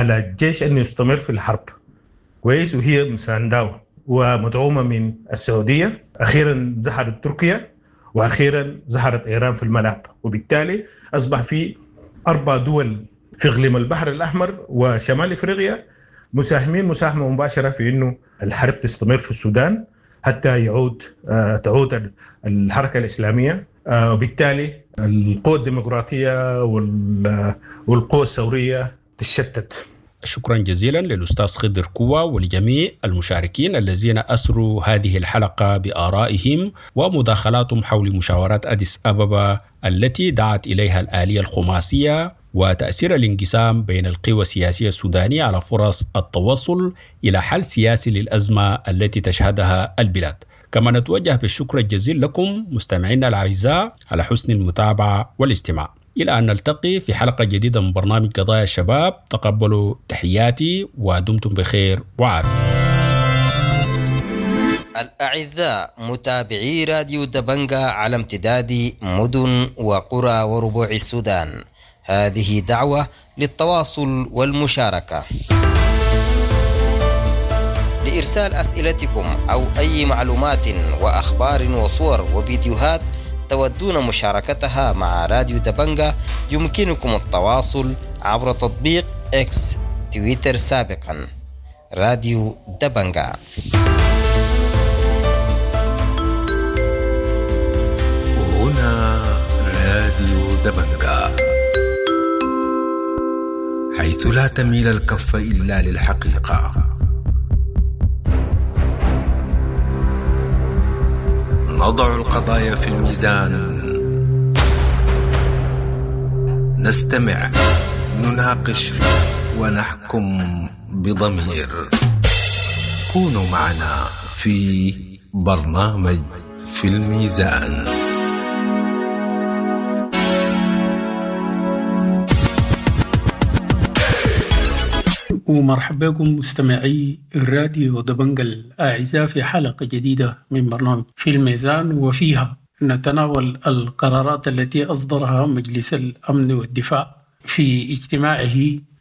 على الجيش أنه يستمر في الحرب. كويس، وهي مسانداه ومدعومة من السعودية. أخيرا ظهرت تركيا، وأخيرا ظهرت إيران في الملعب، وبالتالي أصبح في 4 دول في إقليم البحر الأحمر وشمال إفريقيا مساهمين مساهمة مباشرة في أنه الحرب تستمر في السودان حتى تعود الحركة الإسلامية، وبالتالي القوى الديمقراطية والقوى الثورية تشتت. شكرا جزيلا للأستاذ خضر كوا ولجميع المشاركين الذين أسروا هذه الحلقة بآرائهم ومداخلاتهم حول مشاورات أديس أبابا التي دعت إليها الآلية الخماسية وتأثير الانقسام بين القوى السياسية السودانية على فرص التوصل إلى حل سياسي للأزمة التي تشهدها البلاد. كما نتوجه بالشكر الجزيل لكم مستمعينا الأعزاء على حسن المتابعة والاستماع. إلى أن نلتقي في حلقة جديدة من برنامج قضايا الشباب، تقبلوا تحياتي ودمتم بخير وعافية. الأعزاء متابعي راديو دبنجا على امتداد مدن وقرى وربوع السودان، هذه دعوة للتواصل والمشاركة. لإرسال أسئلتكم أو أي معلومات وأخبار وصور وفيديوهات تودون مشاركتها مع راديو دبنجا، يمكنكم التواصل عبر تطبيق إكس تويتر سابقا راديو دبنجا. هنا راديو دبنجا، حيث لا تميل الكف إلا للحقيقة. نضع القضايا في الميزان، نستمع، نناقش، ونحكم بضمير. كونوا معنا في برنامج في الميزان. ومرحبا بكم مستمعي الراديو دبنجا الأعزاء في حلقة جديدة من برنامج في الميزان، وفيها نتناول القرارات التي أصدرها مجلس الأمن والدفاع في اجتماعه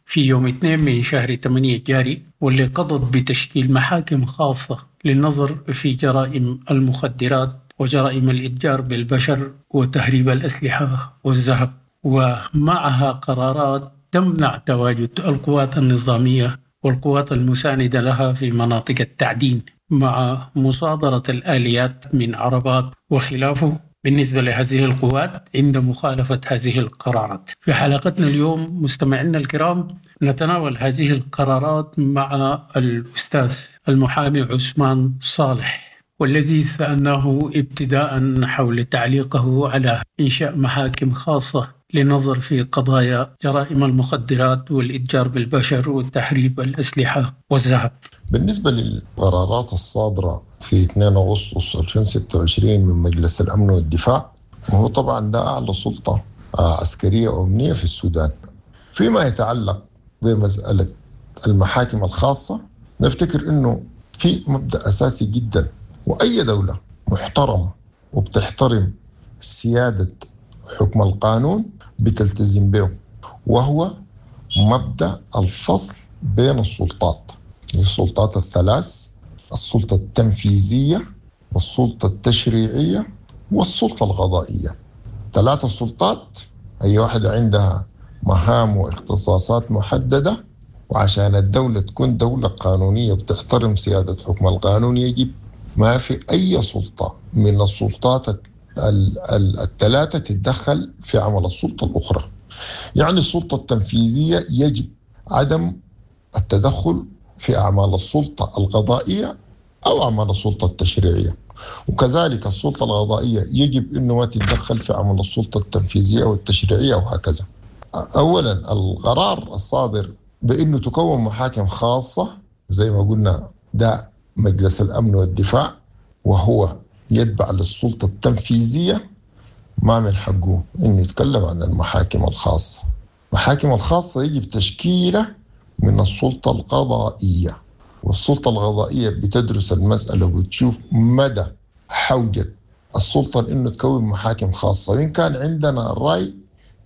في يوم 2 من شهر 8 الجاري، واللي قضت بتشكيل محاكم خاصة للنظر في جرائم المخدرات وجرائم الإتجار بالبشر وتهريب الأسلحة والذهب، ومعها قرارات تمنع تواجد القوات النظامية والقوات المساندة لها في مناطق التعدين، مع مصادرة الآليات من عربات وخلافه بالنسبة لهذه القوات عند مخالفة هذه القرارات. في حلقتنا اليوم مستمعينا الكرام نتناول هذه القرارات مع الأستاذ المحامي عثمان صالح، والذي سألناه ابتداء حول تعليقه على إنشاء محاكم خاصة للنظر في قضايا جرائم المخدرات والإتجار بالبشر وتهريب الأسلحة والذهب. بالنسبة للقرارات الصادرة في 2 أغسطس 2026 من مجلس الأمن والدفاع، وهو طبعا ده أعلى سلطة عسكرية وأمنية في السودان، فيما يتعلق بمسألة المحاكم الخاصة، نفتكر أنه في مبدأ أساسي جدا، وأي دولة محترمة وبتحترم سيادة حكم القانون بتلتزم به، وهو مبدأ الفصل بين السلطات، السلطات الثلاث: السلطة التنفيذية والسلطة التشريعية والسلطة القضائية. ثلاثة سلطات، أي واحدة عندها مهام واختصاصات محددة، وعشان الدولة تكون دولة قانونية بتحترم سيادة حكم القانون يجب ما في أي سلطة من السلطات الثلاثة تتدخل في عمل السلطة الأخرى. يعني السلطة التنفيذية يجب عدم التدخل في أعمال السلطة القضائية أو أعمال السلطة التشريعية، وكذلك السلطة القضائية يجب أنه ما تتدخل في عمل السلطة التنفيذية والتشريعية وهكذا. أولا القرار الصادر بأنه تكون محاكم خاصة زي ما قلنا ده مجلس الأمن والدفاع، وهو يتبع للسلطة التنفيذية، ما من حقه إنه يتكلم عن المحاكم الخاصة. المحاكم الخاصة يجب تشكيلة من السلطة القضائية، والسلطة القضائية بتدرس المسألة وبتشوف مدى حوجة السلطة إنه تكون محاكم خاصة. وإن كان عندنا الرأي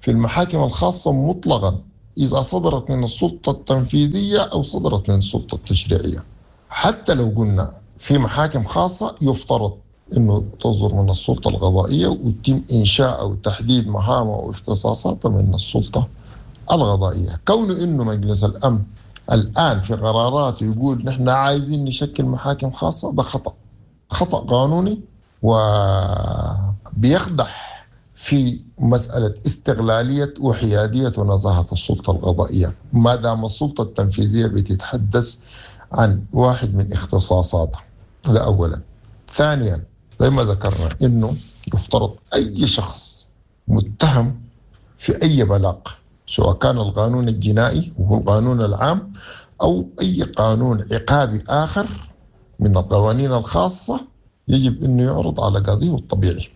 في المحاكم الخاصة مطلقا إذا صدرت من السلطة التنفيذية أو صدرت من السلطة التشريعية. حتى لو قلنا في محاكم خاصة يفترض أنه تصدر من السلطة القضائية ويتم إنشاء أو تحديد مهامها واختصاصاتها من السلطة القضائية. كونه أنه مجلس الأمن الآن في قراراته يقول نحن عايزين نشكل محاكم خاصة، ده خطأ قانوني وبيقدح في مسألة استقلالية وحيادية ونزاهة السلطة القضائية، ما دام السلطة التنفيذية بتتحدث عن واحد من اختصاصاتها. ده أولا. ثانيا، زي ما ذكرنا إنه يفترض أي شخص متهم في أي بلاغ، سواء كان القانون الجنائي وهو القانون العام أو أي قانون عقابي آخر من القوانين الخاصة، يجب أنه يعرض على قاضيه الطبيعي.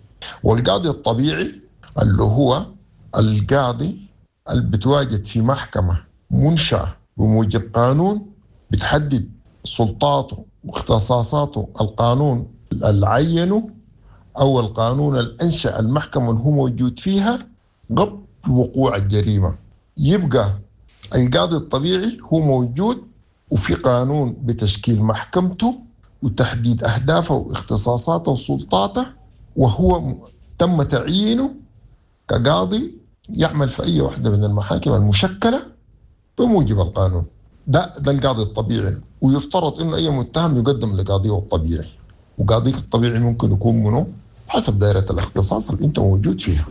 والقاضي الطبيعي اللي هو القاضي اللي بتواجد في محكمة منشأة بموجب قانون بتحدد سلطاته واختصاصاته، القانون اللي عينه أو القانون اللي أنشأ المحكمة اللي هو موجود فيها قبل وقوع الجريمة. يبقى القاضي الطبيعي هو موجود وفي قانون بتشكيل محكمته وتحديد أهدافه واختصاصاته وسلطاته، وهو تم تعيينه كقاضي يعمل في أي واحدة من المحاكم المشكلة بموجب القانون. ده القاضي الطبيعي، ويفترض إنه أي متهم يقدم لقاضيه الطبيعي، وقاضيك الطبيعي ممكن يكون منه حسب دائرة الاختصاص اللي أنت موجود فيها.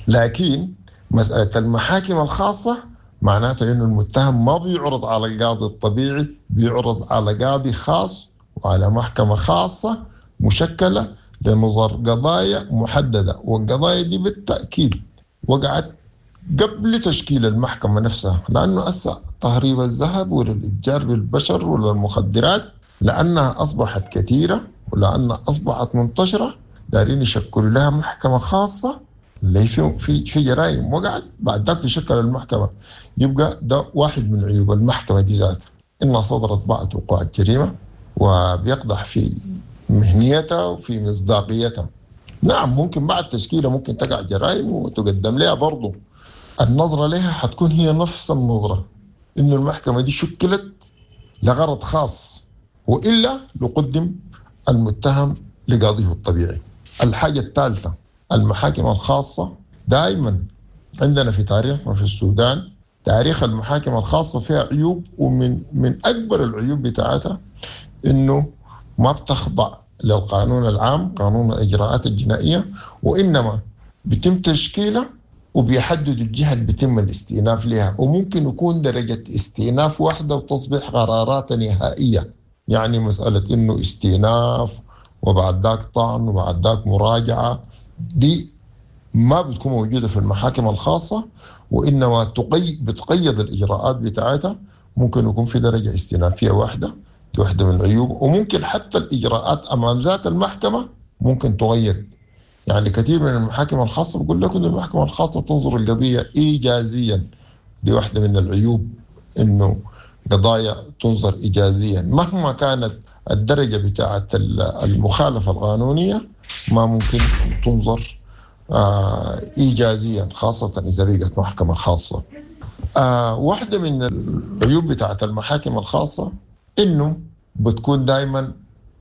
لكن مسألة المحاكم الخاصة معناته إنه المتهم ما بيعرض على القاضي الطبيعي، بيعرض على قاضي خاص وعلى محكمة خاصة مشكلة لنظر قضايا محددة، والقضايا دي بالتأكيد وقعت قبل تشكيل المحكمة نفسها، لأنه أسا تهريب الذهب ولا الإتجار بالبشر ولا المخدرات لأنها أصبحت كثيرة ولأنها أصبحت منتشرة، دارين يشكلوا لها محكمة خاصة اللي في جرائم وقعت بعد ذاك تشكل المحكمة. يبقى ده واحد من عيوب المحكمة دي ذاتها، إنها صدرت بعد وقوع الجريمة وبيقدح في مهنيتها وفي مصداقيتها. نعم ممكن بعد تشكيلها ممكن تقع جرائم وتقدم لها برضو، النظرة لها حتكون هي نفس النظرة، إنه المحكمة دي شكلت لغرض خاص، وإلا لقدم المتهم لقاضيه الطبيعي. الحاجة الثالثة، المحاكم الخاصة دائما عندنا في تاريخنا في السودان، تاريخ المحاكم الخاصة فيها عيوب، ومن أكبر العيوب بتاعتها إنه ما بتخضع للقانون العام، قانون الإجراءات الجنائية، وإنما بيتم تشكيلها وبيحدد الجهة اللي بيتم الاستئناف لها، وممكن يكون درجة استئناف واحدة وتصبح قرارات نهائية. يعني مسألة إنه استئناف وبعد ذاك طعن وبعد ذاك مراجعة، دي ما بتكون موجودة في المحاكم الخاصة، وإنما بتقيد الإجراءات بتاعتها. ممكن يكون في درجة استئنافية واحدة، دي واحدة من العيوب. وممكن حتى الإجراءات أمام ذات المحكمة ممكن تغير. يعني كثير من المحاكم الخاصة بقول لكم إن المحكمة الخاصة تنظر القضية إيجازيا، دي واحدة من العيوب، إنه قضايا تنظر إيجازيا مهما كانت الدرجة بتاعة المخالفة القانونية، ما ممكن تنظر إيجازيا، خاصة إذا بقت محكمة خاصة. واحدة من العيوب بتاعة المحاكم الخاصة إنه بتكون دائما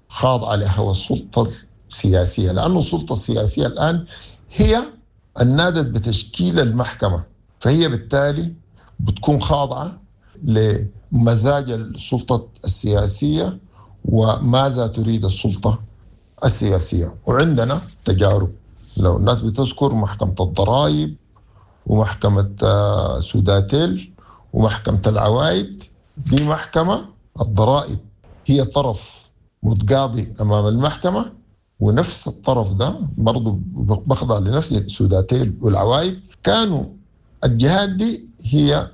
خاضعة لهوى السلطة السياسية، لأنه السلطة السياسية الآن هي النادت بتشكيل المحكمة، فهي بالتالي بتكون خاضعة لمزاج السلطة السياسية وماذا تريد السلطة السياسية. وعندنا تجارب، لو الناس بتذكر محكمة الضرائب ومحكمة سوداتيل ومحكمة العوائد، دي محكمة الضرائب هي طرف متقاضي أمام المحكمة، ونفس الطرف ده برضو بخضع لنفس سوداتيل والعوائد. كانوا الجهات دي هي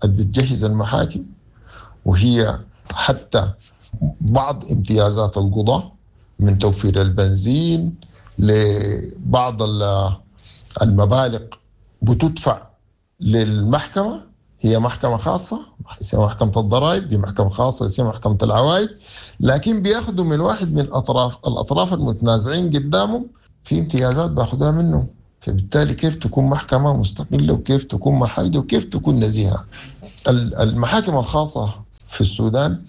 اللي بتجهز المحاكم، وهي حتى بعض امتيازات القضاة من توفير البنزين لبعض المبالغ بتدفع للمحكمة. هي محكمة خاصة اسمها محكمة الضرائب، دي محكمة خاصة اسمها محكمة العوائد، لكن بياخدوا من واحد من الأطراف المتنازعين قدامهم في امتيازات بياخدوها منه. فبالتالي كيف تكون محكمة مستقلة وكيف تكون محايدة وكيف تكون نزيهة؟ المحاكم الخاصة في السودان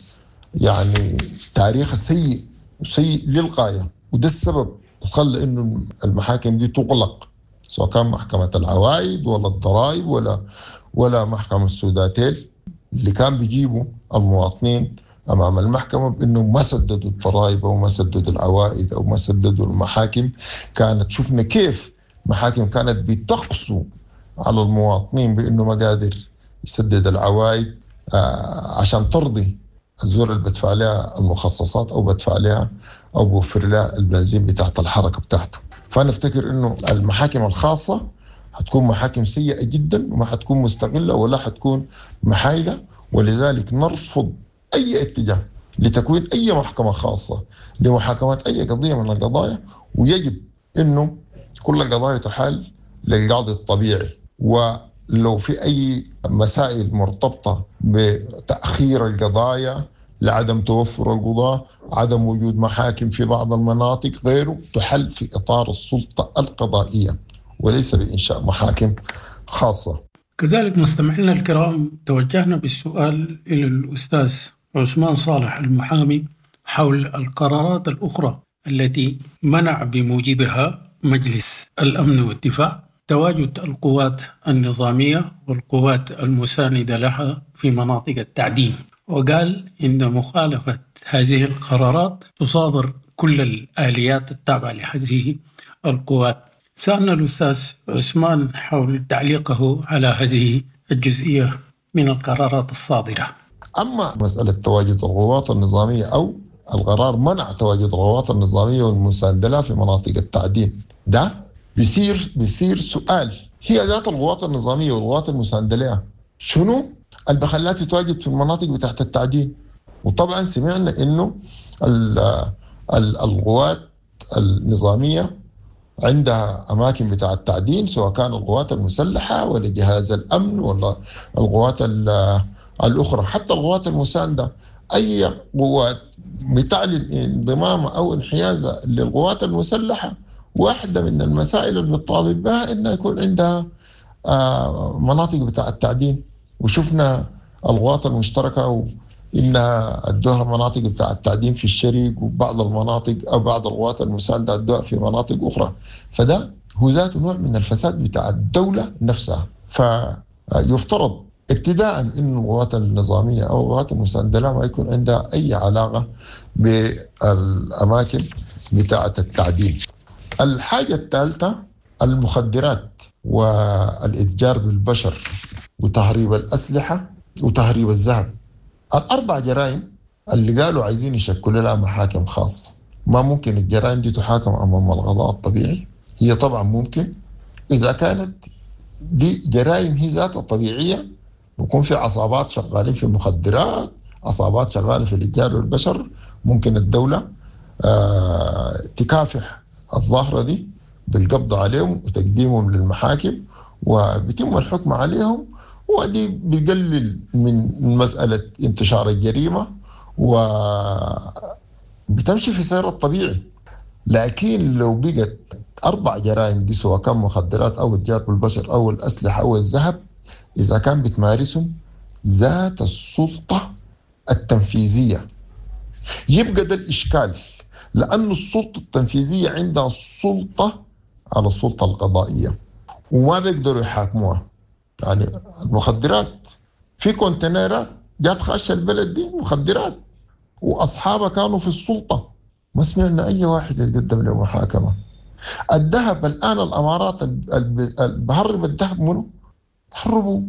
يعني تاريخها سيء سيء للغاية، وده السبب خلى انه المحاكم دي تغلق، سواء كان محكمة العوائد ولا الضرائب ولا محكمة السوداتيل اللي كان بيجيبوا المواطنين امام المحكمة بانه ما سددوا الضرائب او ما سددوا العوائد او ما سددوا المحاكم. كانت شفنا كيف محاكم كانت بتقسو على المواطنين بانه ما قادر يسدد العوائد عشان ترضي الزول اللي بدفع لها المخصصات او بدفع لها او بوفر لها البنزين بتاعت الحركة بتاعته. فانا افتكر انه المحاكم الخاصة حتكون محاكم سيئه جدا وما حتكون مستقلة ولا حتكون محايدة، ولذلك نرفض اي اتجاه لتكوين اي محكمة خاصة لمحاكمه اي قضية من القضايا، ويجب انه كل القضايا تحال للقاضي الطبيعي. ولو في اي مسائل مرتبطة بتاخير القضايا لعدم توفر القضاة، عدم وجود محاكم في بعض المناطق، غيره، تحل في إطار السلطة القضائية وليس بإنشاء محاكم خاصة. كذلك مستمعينا الكرام، توجهنا بالسؤال إلى الأستاذ عثمان صالح المحامي حول القرارات الأخرى التي منع بموجبها مجلس الأمن والدفاع تواجد القوات النظامية والقوات المساندة لها في مناطق التعدين، وقال إن مخالفة هذه القرارات تصادر كل الآليات التابعة لهذه القوات. سألنا الأستاذ عثمان حول تعليقه على هذه الجزئية من القرارات الصادرة. أما مسألة تواجد القوات النظامية أو القرار منع تواجد القوات النظامية والمساندة لها في مناطق التعدين، ده بيصير سؤال، هي ذات القوات النظامية والقوات المساندة لها شنو اللي بخلاها تتواجد في المناطق بتاعت التعدين؟ وطبعا سمعنا انه القوات النظامية عندها اماكن بتاع التعدين، سواء كان القوات المسلحة ولا جهاز الامن ولا القوات الاخرى، حتى القوات المساندة. اي قوات بتعلن انضمامها او انحيازها للقوات المسلحة، واحدة من المسائل اللي بتطالب بها انها يكون عندها مناطق بتاع التعدين. وشفنا القوات المشتركة وإنها أدوها مناطق بتاع التعدين في الشرق، وبعض المناطق أو بعض القوات المساندة أدوها في مناطق أخرى. فده هو ذاته نوع من الفساد بتاع الدولة نفسها. فيفترض ابتداء إنه القوات النظامية أو القوات المساندة لا ما يكون عندها أي علاقة بالأماكن بتاعة التعدين. الحاجة الثالثة المخدرات والإتجار بالبشر وتهريب الأسلحة وتهريب الذهب. الأربع جرائم اللي قالوا عايزين يشكلوا لها محاكم خاصة. ما ممكن الجرائم دي تحاكم أمام القضاء الطبيعي؟ هي طبعا ممكن إذا كانت دي جرائم هي ذاتها طبيعية، بيكون في عصابات شغالين في المخدرات، عصابات شغالة في الإتجار والبشر، ممكن الدولة تكافح الظاهرة دي بالقبض عليهم وتقديمهم للمحاكم وبيتم الحكم عليهم، ودي بيقلل من مسألة انتشار الجريمة وبتمشي في سير الطبيعي. لكن لو بقت أربع جرائم دي، سواء كان مخدرات أو اتجار بالبشر أو الأسلحة أو الذهب، إذا كان بتمارسهم ذات السلطة التنفيذية، يبقى ده الإشكال، لأن السلطة التنفيذية عندها السلطة على السلطة القضائية وما بيقدروا يحاكموها. يعني المخدرات في كونتينرات جات خاشة البلد دي مخدرات وأصحابها كانوا في السلطة، ما سمعنا أي واحد يتقدم لمحاكمة. الذهب الآن الأمارات بهرب الذهب منه؟ هربوا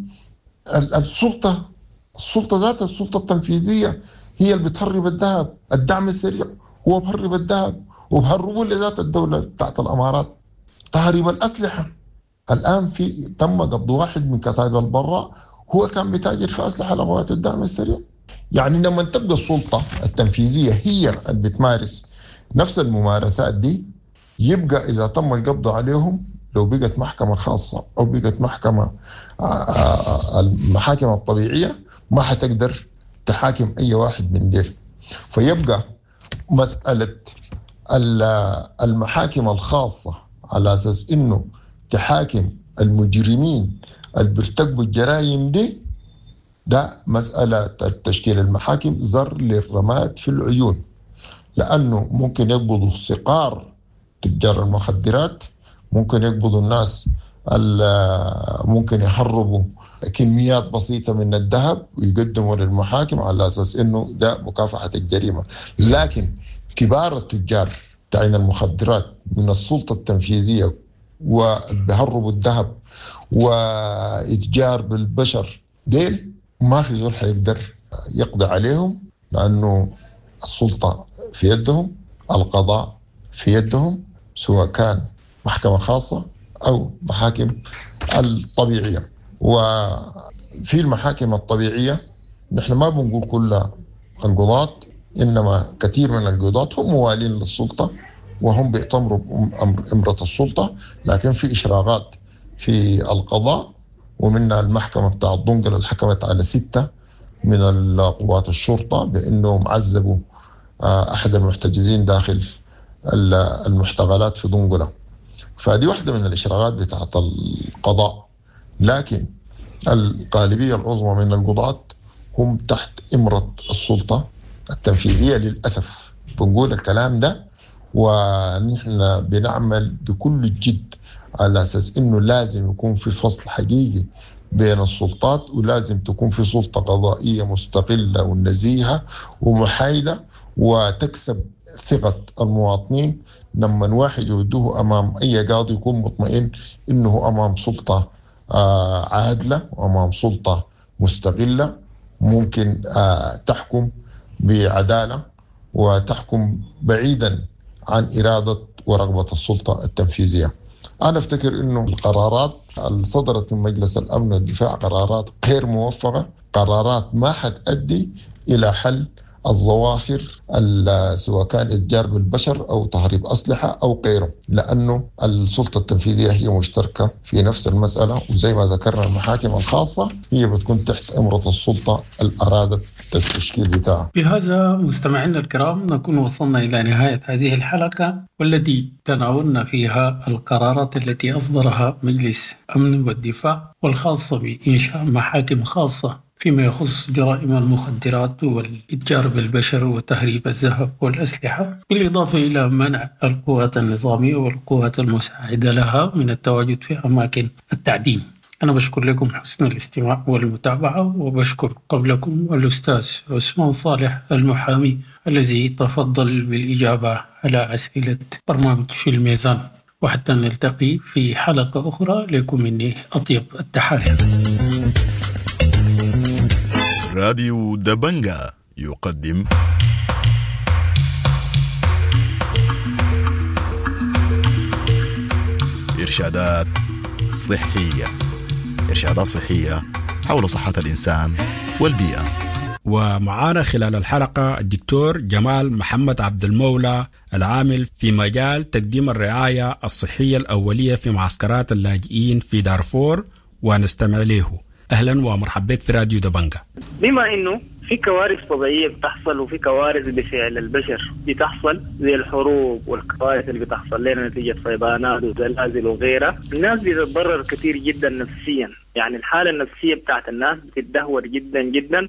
السلطة، السلطة ذات السلطة التنفيذية هي اللي بتهرب الذهب. الدعم السريع هو بهرب الذهب وبهربوا لذات الدولة بتاعت الأمارات. تهريب الأسلحة الآن في تم قبض واحد من كتائب البراء هو كان بتاجر في أسلحة لقوات الدعم السريع. يعني لما تبقى السلطة التنفيذية هي اللي بتمارس نفس الممارسات دي، يبقى إذا تم القبض عليهم لو بقت محكمة خاصة أو بقت محكمة المحاكم الطبيعية ما حتقدر تحاكم أي واحد من ديل. فيبقى مسألة المحاكم الخاصة على أساس إنه تحاكم المجرمين اللي بيرتكبوا الجرائم دي، ده مسألة تشكيل المحاكم زر للرماد في العيون، لأنه ممكن يقبضوا صقار تجار المخدرات، ممكن يقبضوا الناس ممكن يهربوا كميات بسيطة من الذهب ويقدموا للمحاكم على أساس إنه ده مكافحة الجريمة. لكن كبار التجار تعين المخدرات من السلطة التنفيذية وبيهربوا الذهب وإتجار بالبشر ديل ما في زول حيقدر يقضي عليهم، لأنه السلطة في يدهم، القضاء في يدهم، سواء كان محكمة خاصة أو محاكم الطبيعية. وفي المحاكم الطبيعية نحن ما بنقول كل القضاة، إنما كثير من القضاة هم موالين للسلطة وهم بيأتمروا بأمرة السلطة، لكن في إشراقات في القضاء، ومنها المحكمة بتاع الدنقل اللي حكمت على 6 من القوات الشرطة بأنهم عذبوا أحد المحتجزين داخل المحتقلات في دنقلة. فدي واحدة من الإشراقات بتاعت القضاء، لكن الغالبية العظمى من القضاة هم تحت إمرة السلطة التنفيذية للأسف. بنقول الكلام ده ونحن بنعمل بكل الجد على أساس إنه لازم يكون في فصل حقيقي بين السلطات، ولازم تكون في سلطة قضائية مستقلة ونزيهة ومحايدة وتكسب ثقة المواطنين. لما واحد يودوه أمام أي قاضي يكون مطمئن إنه أمام سلطة عادلة وأمام سلطة مستقلة ممكن تحكم بعدالة وتحكم بعيدا عن إرادة ورغبة السلطة التنفيذية. أنا أفتكر أنه القرارات اللي صدرت من مجلس الأمن والدفاع قرارات غير موفقة، قرارات ما حتؤدي إلى حل الظواهر سواء كان إتجار بالبشر أو تهريب أسلحة أو غيره، لأنه السلطة التنفيذية هي مشتركة في نفس المسألة، وزي ما ذكرنا المحاكم الخاصة هي بتكون تحت إمرة السلطة اللي أرادت التشكيل بتاعها. بهذا مستمعينا الكرام نكون وصلنا إلى نهاية هذه الحلقة والتي تناولنا فيها القرارات التي أصدرها مجلس أمن والدفاع والخاصة بإنشاء محاكم خاصة فيما يخص جرائم المخدرات والإتجار بالبشر وتهريب الذهب والأسلحة، بالإضافة إلى منع القوات النظامية والقوات المساعدة لها من التواجد في أماكن التعدين. أنا بشكر لكم حسن الاستماع والمتابعة، وبشكر قبلكم الأستاذ عثمان صالح المحامي الذي تفضل بالإجابة على أسئلة برنامج في الميزان. وحتى نلتقي في حلقة أخرى، لكم مني أطيب التحايا. راديو دبنجا يقدم إرشادات صحية، إرشادات صحية حول صحة الإنسان والبيئة. ومعانا خلال الحلقة الدكتور جمال محمد عبد المولى العامل في مجال تقديم الرعاية الصحية الأولية في معسكرات اللاجئين في دارفور، ونستمع له. أهلا ومرحبا بك في راديو دبنجا. بما إنه في كوارث طبيعية بتحصل وفي كوارث بفعل البشر بتحصل زي الحروب والكوارث اللي بتحصل لنا نتيجة فيضانات وزلازل وغيرها، الناس بتتضرر كثير جدا نفسيا، يعني الحالة النفسية بتاعت الناس بتتدهور جدا جدا،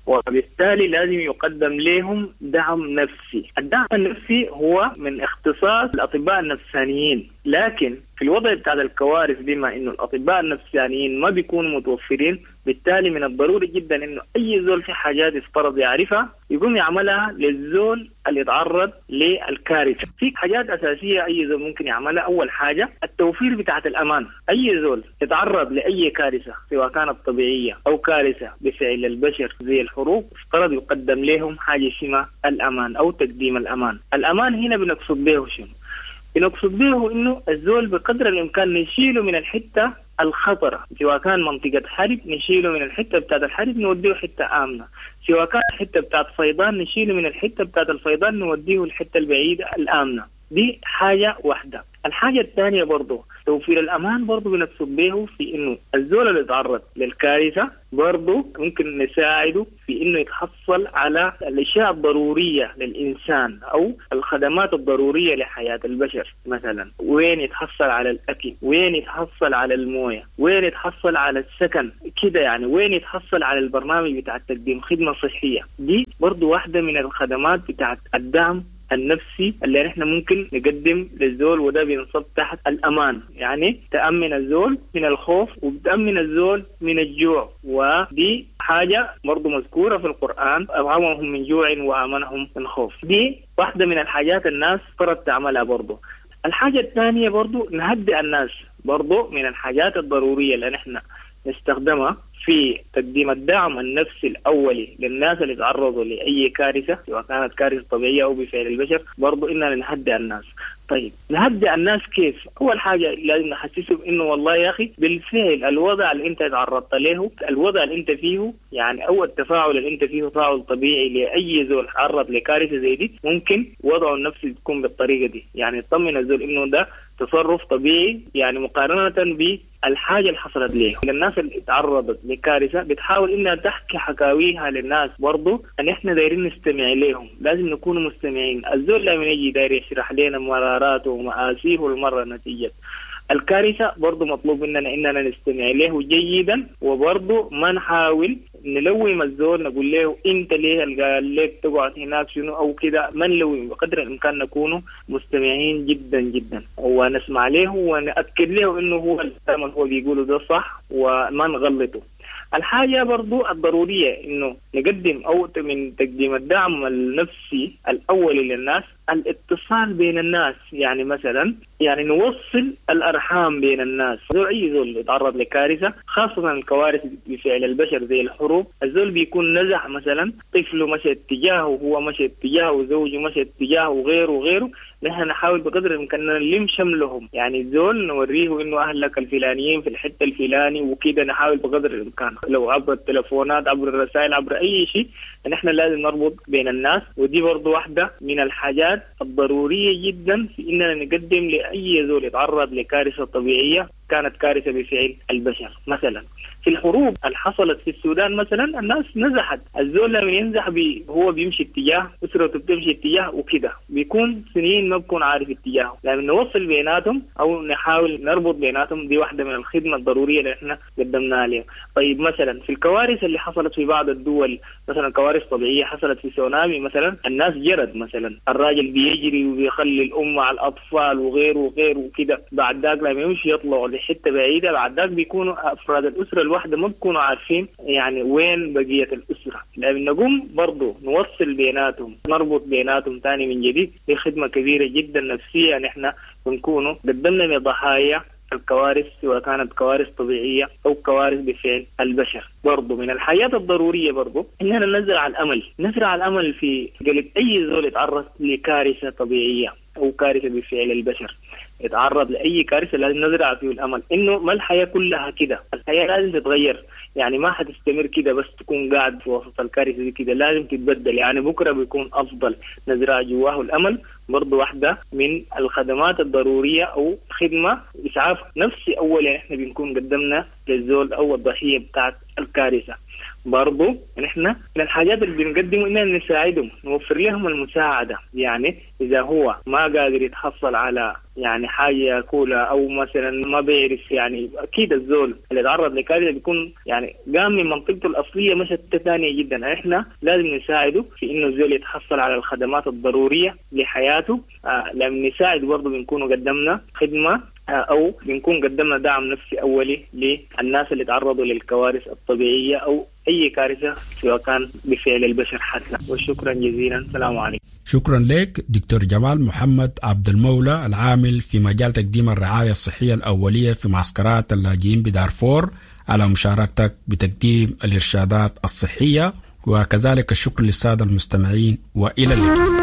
وبالتالي لازم يقدم لهم دعم نفسي. الدعم النفسي هو من اختصاص الأطباء النفسانيين، لكن في الوضع بتاع الكوارث بما إنه الأطباء النفسانيين ما بيكونوا متوفرين، بالتالي من الضروري جدا إنه أي زول في حاجات يفترض يعرفها يقوم يعملها للزول اللي يتعرض للكارثة. في حاجات أساسية أي زول ممكن يعملها. أول حاجة التوفير بتاعت الأمان. أي زول يتعرض لأي كارثة سواء كانت طبيعية أو كارثة بفعل البشر زي الحروب، افترض يقدم لهم حاجة اسمها الأمان أو تقديم الأمان. الأمان هنا بنقصد به شنو؟ بنقصد به إنه الزول بقدر الإمكان نشيله من الحتة الخطرة، سواء كان منطقة حرب نشيله من الحتة بتاعت الحرب نوديه حتة آمنة، سواء كان حتة بتاعت فيضان نشيله من الحتة بتاعت الفيضان نوديه الحتة البعيدة الآمنة. دي حاجة واحدة. الحاجة الثانية برضه توفير الأمان برضه بنقصد به في إنه الزول اللي تعرض للكارثة برضه ممكن نساعده في إنه يتحصل على الأشياء الضرورية للإنسان أو الخدمات الضرورية لحياة البشر. مثلا وين يتحصل على الأكل، وين يتحصل على الموية، وين يتحصل على السكن كده، يعني وين يتحصل على البرنامج بتاع تقديم خدمة صحية. دي برضه واحدة من الخدمات بتاعت الدعم النفسي اللي نحن ممكن نقدم للزول، وده بينصب تحت الأمان. يعني تأمن الزول من الخوف وبتأمن الزول من الجوع، ودي حاجة برضو مذكورة في القرآن، أطعمهم من جوع وآمنهم من خوف. دي واحدة من الحاجات الناس فرض تعملها برضو. الحاجة الثانية برضو نهدئ الناس، برضو من الحاجات الضرورية اللي نحن نستخدمها في تقديم الدعم النفسي الأولي للناس اللي تعرضوا لأي كارثة، سواء كانت كارثة طبيعية أو بفعل البشر، برضو إننا نهدئ الناس. طيب نهدئ الناس كيف؟ أول حاجة لازم نحسسهم إنه والله يا أخي بالفعل الوضع اللي أنت تعرضت له، الوضع اللي أنت فيه، يعني أو التفاعل اللي أنت فيه تفاعل طبيعي لأي زول تعرض لكارثة زي دي، ممكن وضعه النفسي تكون بالطريقة دي. يعني تطمن الزول إنه ده تصرف طبيعي، يعني مقارنة بالحاجة اللي حصلت ليه. الناس اللي تعرضت لكارثة بتحاول إنها تحكي حكاويها للناس، برضو أن إحنا دايرين نستمع لهم، لازم نكون مستمعين. الزول لما يجي داير يشرح لنا مراراته ومآسيه المرة نتيجة الكارثة، برضو مطلوب مننا إننا نستمع له جيدا، وبرضو ما نحاول نلوم الزول نقول له انت ليه قال لك تقعد هناك شنو او كده، ما نلوم، بقدر الامكان نكون مستمعين جدا جدا ونسمع له ونأكد له انه هو الكلام اللي هو بيقوله ده صح وما نغلطه. الحاجة برضو الضرورية إنه نقدم أو من تقديم الدعم النفسي الأولي للناس الاتصال بين الناس. يعني مثلا يعني نوصل الأرحام بين الناس. زول أي زول يتعرض لكارثة، خاصة الكوارث بفعل البشر زي الحروب، الزول بيكون نزح مثلا، طفله مشى اتجاهه وهو مشى اتجاهه وزوجه مشى اتجاهه وغيره وغيره. نحن نحاول بقدر الإمكان نلم شملهم، يعني الزول نوريه إنه أهلك الفلانيين في الحتة الفلاني وكده، نحاول بقدر الإمكان لو عبر التلفونات عبر الرسائل عبر أي شيء، نحن لازم نربط بين الناس. ودي برضو واحدة من الحاجات الضرورية جدا في إننا نقدم لأي زول يتعرض لكارثة طبيعية كانت كارثة بفعل البشر. مثلا في الحروب اللي حصلت في السودان مثلا الناس نزحت، الزول لما ينزح هو بيمشي اتجاه، أسرته بتمشي اتجاه وكده، بيكون سنين ما بكون عارف اتجاهه. لما نوصل بيناتهم أو نحاول نربط بيناتهم، دي واحدة من الخدمة الضرورية اللي احنا قدمناها لهم. طيب مثلا في الكوارث اللي حصلت في بعض الدول، مثلا كوارث طبيعية حصلت في سونامي مثلا، الناس جرت مثلا، الراجل بيجري وبيخلي الأم مع الأطفال وغيره وغيره وكده، بعد ذاك لما يمشي يطلعوا لحتة بعيدة، بعد ذاك بيكونوا أفراد الأسرة الواحدة ما بيكونوا عارفين يعني وين بقية الأسرة. لأن نقوم برضو نوصل بيناتهم، نربط بيناتهم تاني من جديد، دي خدمة كبيرة جدا نفسية نحن بنكونوا قدمنا لضحايا الكوارث، سواء كانت كوارث طبيعية أو كوارث بفعل البشر. برضو من الحياة الضرورية برضو إننا نزرع الأمل، نزرع الأمل في قلب أي زول يتعرض لكارثة طبيعية أو كارثة بفعل البشر، يتعرض لأي كارثة لازم نزرع فيه الأمل إنه ما الحياة كلها كده، الحياة لازم تتغير، يعني ما حتستمر كده بس تكون قاعد في وسط الكارثة دي كده، لازم تتبدل، يعني بكرة بيكون أفضل. نزرع جواه الأمل برضو واحدة من الخدمات الضرورية أو خدمة إسعاف نفسي أولا إحنا بنكون قدمنا للزول أو الضحية بتاعت الكارثة. برضو نحن من الحاجات اللي بنقدمه إننا نساعدهم، نوفر لهم المساعدة. يعني إذا هو ما قادر يتحصل على يعني حاجة ياكلها أو مثلا ما بيعرف، يعني أكيد الزول اللي تعرض لكارثة بيكون يعني قام من منطقته الأصلية مشت ثانية جدا، إحنا لازم نساعده في إنه الزول يتحصل على الخدمات الضرورية لحياته. لما نساعد برضو بنكون قدمنا خدمة أو بنكون قدمنا دعم نفسي أولي للناس اللي تعرضوا للكوارث الطبيعية أو أي كارثة سواء كان بفعل البشر حتى. وشكرا جزيلا، السلام عليكم. شكرا لك دكتور جمال محمد عبد المولى، العامل في مجال تقديم الرعاية الصحية الأولية في معسكرات اللاجئين بدارفور، على مشاركتك بتقديم الإرشادات الصحية، وكذلك الشكر للسادة المستمعين، وإلى اللقاء.